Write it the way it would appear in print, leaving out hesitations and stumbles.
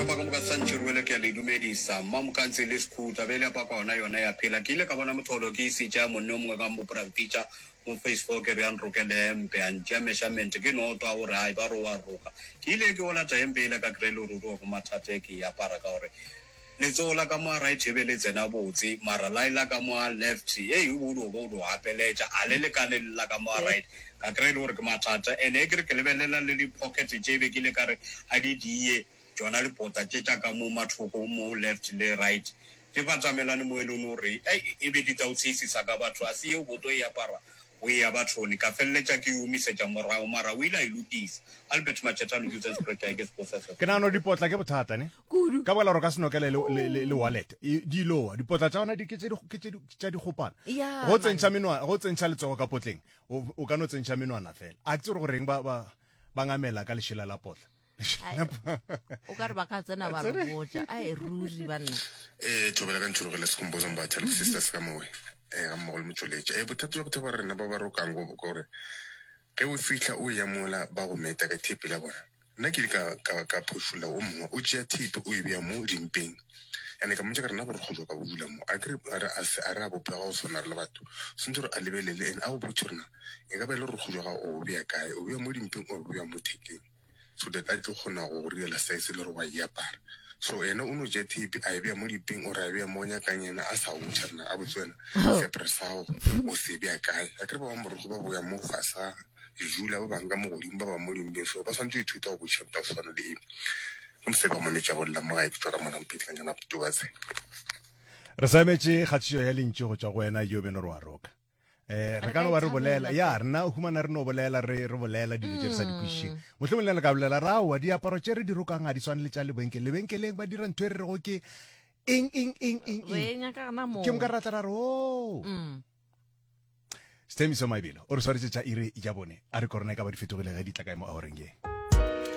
Kapa ka moka Santši Ruele ke a le dumedisa. Mmamokantsi le Sekhuta bele ya paka gona yona ya phela. Ke ile ka bona motholo ke isitša monne o mongwe ka mmoporafitša mo phase four ke re a nrokele hempe a ntšea measurement ke no twa gore hai ba re o a roka. Ke ile ke o lata hempe yela ka kry le ruri wa ko mathata e ke e apara ka gore Letsogo la ka mo a right e be le tsena botse, mara lae la ka mo a left hei o be o dio ba o dio gapeletša, a le lekane le la ka mo a right. Ka kry-a e le gore ke mathata. And e ke re ke lebelela le di pocket tše be ke ile ka re a di diye, tšona dipota tše tša ka mo mathoko mo left le right di batamelane mo e leng gore ei e be di tla o tsheisisa ka batho. A se yeo boto e apara o eya bathong. Ka feleletša ke e omisetša morago mara o ile a e lokisa. Albert Machetane, Johannesburg, ke Ke nagana gore dipotla ke bothata ne. Kudu. Ka baka la gore o ka se nokele le, le, le, le wallet. E, di lowa. Dipotla tša gona di ke tše di, ke tše di, tša dikgopana. Ya, Go tsentšha man. menwana, go tsentšha letsogo ka potleng, o, o ka no tsentšha menwana fela. A ke tsebe gore goreng ba, ba, ba ngamela ka lešela la potla. Ai, o ka re ba ka tsena ba re botša. Ai, ruri banna. Ee, thobela ka ntšhologele Sekhumbuzo Mbatha le Sisters ka mowe eh, ga mmogo le motšweletši. Eh, bothata bja batho ba rena ba ba rokang go gore ge o fihla o eya mola ba go meta ka thepe la bona. Nna ke ile ka, ka, ka phošolla o mongwe, o tšea thepe o e bea mo dimpeng. And-e ka mmotša ka re, na borokgo bja ka bo dula mo? A ke re, a re, a se, a re a bopega go swana re le batho. Swantše gore a lebelele and a go botše gore na e ka ba e le borokgo bja gago o bo bea kae, o bea mo dimpeng or o bo bea mo thekeng, so that a tlo kgona go go direla size e le gore wa e apara. So yena o no tšea thepe a e bea mo dimpeng or a e bea mo o nyakang yena a sa botša rena, a botse wena seaparo sa gago o se bea kae. A ke re ba bangwe borokgo ba boya mo fase ga Dula ba bang ka mo godimo, ba bang mo dimpeng, so ba swanetše go ithuta go botšiša motho wa go swana le ke mosadi wa monetša go lla mo gae ke tšwa ka mona Mphetikanjana Tubatse. Re sa emetše kgatišo ya lentšu go tšwa go wena yo beno re wa roka. Eh, re ka no ba re bolela ya rena o humana re no bolela re re bolela dilo tše re sa di kwešišeng mohlomong le re ka bolela ra aowa diaparo tše re di rokang ga di swane le tša lebenkeleng lebenkeleng ba dira ntho e re rego ke eng eng eng eng Re eng e nyaka gona moo. ke moka ra tla ra re o Mm. Sthemiso Maibelo o re swaretše tša iri ya bone a re korona e ka ba di fetogile ge di tla kae mo aoreng ye.